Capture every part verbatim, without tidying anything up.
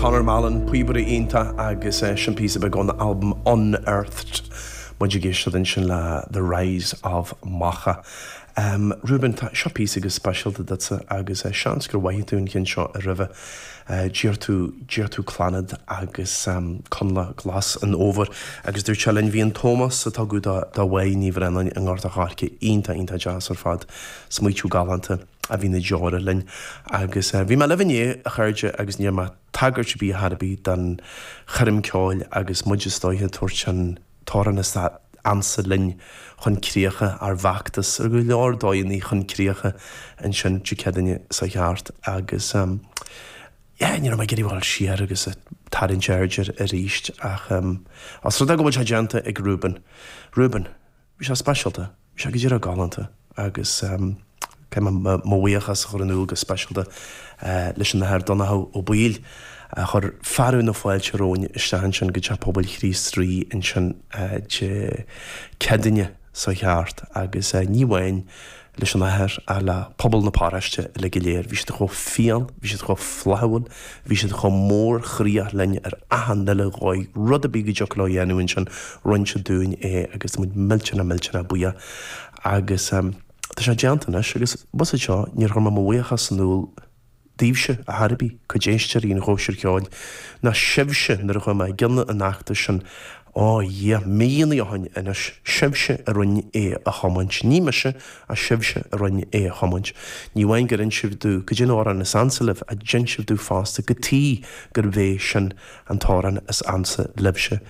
Conor Mallon, píobaire iontach agus eh, sin píosa beag ón album Unearthed. Muid ag éisteacht ansin le The Rise of Macha. Um, Ruben tá seo píosa go speisialta duitse agus uh, seans gur mhaith tú an ceann seo a roimhe uh, d'iarr tú d'iarr tú Clannad agus um, Coinleach Glas an Fhómhair agus dúirt sé linn bhí an Tomás atá go dá bhain ní bhrein an ngart a chairce iontach iontach deas ar fad smaoitiú galánta a bhí na deora linn agus uh, bhí mé libh inné a chairde agus ní mé tagairt bí harbí den choirm ceoil agus muid istigh ag tabhairt an t-amhrán is ansa linn chun críocha ár bhfeachtas ar go leor dóigheanna chun críocha ansin Dé Céadaoine seo thart agus um, yeah, ní raibh mé ag iarraidh siar agus tarraingt aird arís ach um, as rud go bhfuil sé déanta ag Ruben. Ruben, bhí sé speisialta, bhí sé go dtí galánta agus um, mo bhuíochas chur in iúl go speisialta uh, leis an Athair Donncha Ó Baoill a chuir fearadh na fáilte romhainn isteach ansin go Teach Pobail Chríost Rí ansin Dé Céadaoine seo thart agus uh, ní amháin leis an athair ach le pobal na paróiste le go léir, bhí siad chomh fial, bhí siad chomh flaithiúil, bhí siad chomh mórchroíach linn ar achan uile dhóigh rud a bhí go dtiocfadh leo a dhéanamh ansin rinne siad dúinn é agus muid millteanach millteanach buíoch agus um, Tá sé déanta anois agus bus seo níor chuir mé mo bhuíochas in iúl daoibhse a thairbhí cuid éisteoirí an Chóisir Cheoil ná sibhse nuair a chuir mé i gcionn an fheachtais sin ó Dhia míonna ó shin anois sibhse a rinne é a thiomáint. Ní mise ach sibhse a rinne é a thiomáint. Ní amháin gur inis sibh domh cad é an t-amhrán is ansa libh ach d'inis sibh domh fosta cad chuige gurb é sin an t-amhrán is ansa libhse.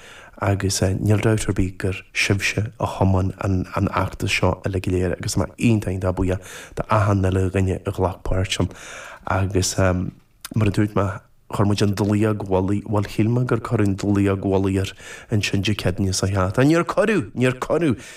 agus uh, níl dabht ar bith gur sibhse a thiomáin an, an fheachtas seo uile go léir agus mé iontach iontach buíoch d'achan uile dhuine a ghlac páirt ann agus um, mar a dúirt mé chuir muid an dlaíog mhullaigh bhuel shíl mé gur cuireadh an dlaíog mhullaigh air ansin Dé Céadaoine seo thart. Níor cuireadh, níor cuireadh